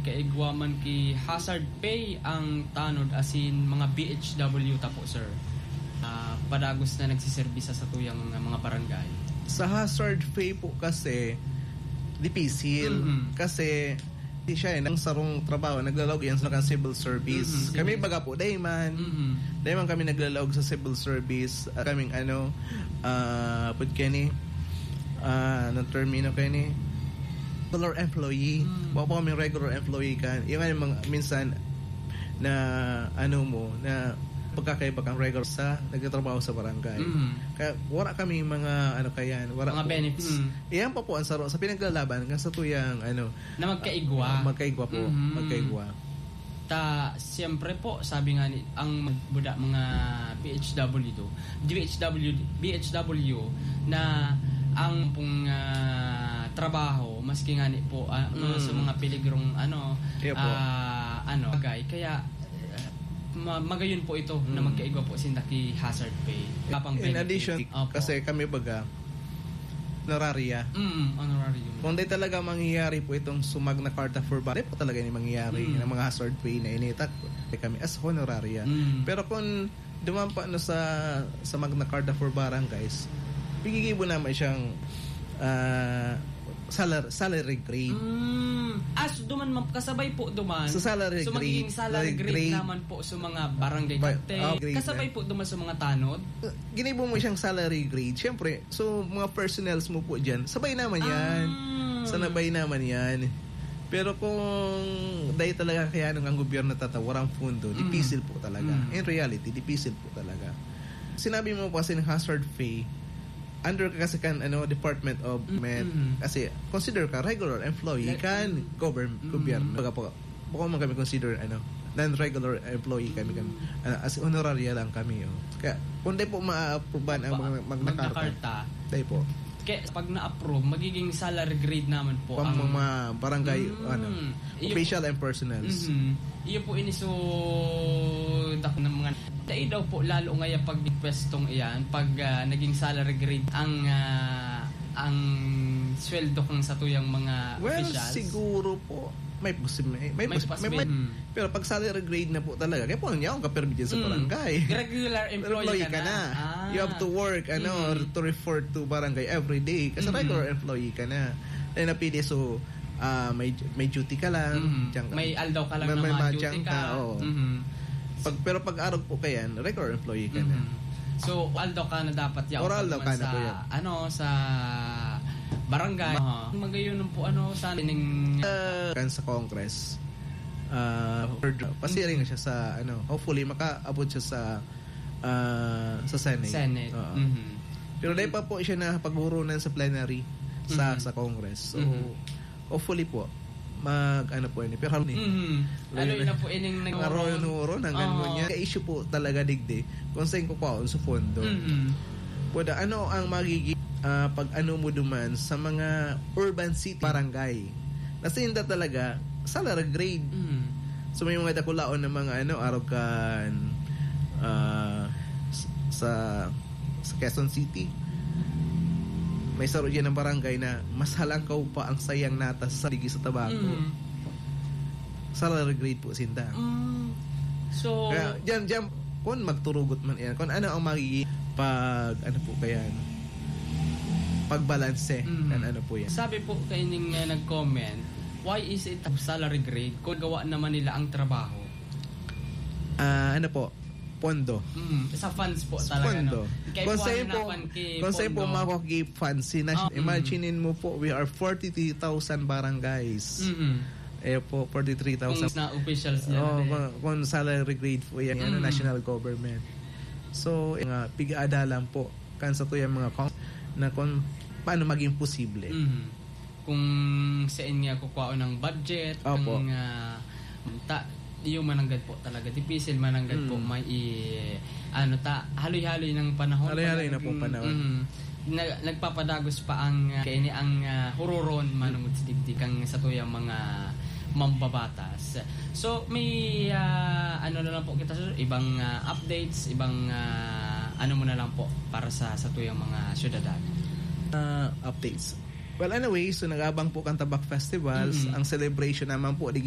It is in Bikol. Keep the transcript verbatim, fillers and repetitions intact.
Kaigwa man ki hazard pay ang tanod asin mga B H W ta po, sir. Ah, padagos na nagsiserbis sa satuyang mga, mga barangay. Sa hazard pay po kasi, dipisil. Mhm. Kasi, di siya eh, nang sarong trabaho, naglalaog yan sa mga civil service. Mhm, sige. Kami baga po, dayman. Mhm. Dayman kami naglalaog sa civil service. At kaming ano, ah, put kani, ah, ng termino kani, regular employee. Mm. Wa pa kami regular employee kan. Yung ano, mga, minsan, na ano mo, na pagkakaiba kang regular sa nagtatrabaho sa barangay. Mm. Kaya wala kami mga ano kayan, wala Mga po. benefits. Mm. Iyan pa po ang saro sa pinaglalaban kan sa tuyang ano, Na magkaigwa. ah, magkaigwa po, Mhm. magkaigwa. Ta, siyempre po, sabi nga ni, ang magbuda mga B H W, B H W, B H W na ang pong, ah, trabaho, maski nga ni po, ah, mga Mm. sa mga peligrong, ano, Kaya po. ah, ano, bagay. Kaya, ah, ma-, magayon po ito na Mm. magkaigwa po sinda ki hazard pay. Wala pang In benefit. addition, Opo. kasi kami baga, honoraria. Mm, honorarium. Kung di talaga mangyayari po itong sumag na karta for ba, di po talaga ini mangyayari Mm. ng mga hazard pay na initak kami as honoraria. Mm. Pero kung duman pa, no, sa, sa Magna Carta for Barangays, pigigibo naman siyang, ah, salar-, salary grade. Mm. As duman, ma'am, kasabay po duman. Sa salary So, grade, magiging salary salary grade grade. naman po sa mga barangay Ba-, captain. oh, grade Kasabay na. po duman sa mga tanod. Uh, ginibo mo siyang salary grade. Siyempre, so, mga personnels mo po dyan, sabay naman yan. Ah. Sanabay naman yan. Pero kung dahil talaga kaya nung ang gobyerno tatawaran ang pondo, Mm. dipisil po talaga. Mm. In reality, dipisil po talaga. Sinabi mo po kasi ng hazard pay, under ka kasi kan, ano, Department of Mm, Met. mm. Kasi consider ka regular employee Like, kan mm. govern-, Mm. gobyerno. Baga po, bako man kami consider, ano, non-regular employee kami, kami. Mm. Ano, as honoraria lang kami, oh. Kaya, kung di po ma-approvean ang Pa-, mga Magna Magna Carta, Carta. di po. Kaya pag na-approve, magiging salary grade naman po Pang ang mga barangay, Mm. ano, Iyo official po. and personnels. Mhm. Iyo po ini so dak ng mga dai daw po lalo ngaya pag pwestong iyan, pag, ah, naging salary grade ang, ah, ang sweldo kang satuyang mga Well, officials. siguro po, may posi-, may, may May posi-, may, possibility. may, Mm. pero pag salary grade na po talaga, kaya po niya akong kapirmi dyan sa Mm. barangay. Regular Pero employee employee ka ka na. na. Ah. You have to work, ano, Mm. to report to barangay every day. Kasi Mm. regular employee ka na. Then, napili, so, ah, may, may duty ka lang, Mm. diyan ka. May aldaw ka lang May, na may mga duty madyan ka. ka, oo. Mm. Pag, pero pag arog po kayan, regular employee ka na. Mm. So, aldaw ka na dapat yaw Or aldaw naman ka na sa, po yan. ano, sa barangay. Aha. Magayon po, ano, sa ning Ah, kan sa Congress. Ah, third, pasiring Mm. siya sa, ano, hopefully, makaabot siya sa, ah, sa Senate. Senate. Oo. Mhm. Pero dahil pa po siya na paghurunan sa plenary sa, Mhm. sa Congress. So, Mhm. hopefully po, mag, ano po yun, pero ni Mhm. Ano yun na po, ining nag- Ang aroyon-huron, hanggang Oo. ngunyan. Ka-issue po talaga, digdi, kung saan ko kwaon sa pondo. Mhm. Pwede, ano ang magiging, ah, pag-ano mo duman sa mga urban city, barangay? Nasinda talaga, salary grade. Mhm. So, may mga dakulaon na mga, ano, arog kan, ah, s-, sa, sa Quezon City. May saro dyan ng barangay na mas halangkaw pa ang sayang nata sa ligi sa tabako. Mm. Salary grade po sinda. Mm. So, Kaya, dyan, dyan, kung magturugot man yan, kung ano ang magiging pag, ano po kaya, pagbalanse, Mm. kan ano po yan. Sabi po kaining, uh, nag-comment, why is it salary grade kung gawa naman nila ang trabaho? Ah, ano po? Pondo. Mm, sa funds po Sa talaga, pondo. no? Kaya Kung po sa'yo po, hananapan kay kung sa'yo po pondo. makukuha funds, si nas-, Ah, mm. imaginin mo po, we are forty-three thousand barangays. Mm-mm. Eh po, forty-three thousand. Kung na officials niya Oh, na eh. kung, kung salary grade po yan, ano, Mm. national government. So, nga, pig-aadalan po, kan sa tuyang mga cons-, na kung paano maging posible. Mm. Kung saan nga kukuhaon ng budget, Opo. ang, ah, ta-, yung mananggad po talaga, dipisil mananggad po, Mm. may i-, ano ta, haloy-haloy ng panahon Haloy-haloy pala na pong naging, panahon. mm, na, nagpapadagos pa ang, ah, kaini ang, ah, huroron manungod sa digdi kang sa tuyang mga mambabatas. So, may, ah, ano na lang po kita, sir, ibang, ah, updates, ibang, ah, ano mo na lang po para sa, sa tuyang mga syudad. Ah, updates. Well, anyway, so nag-abang po kan Tabak Festivals. Mm. Ang celebration naman po, di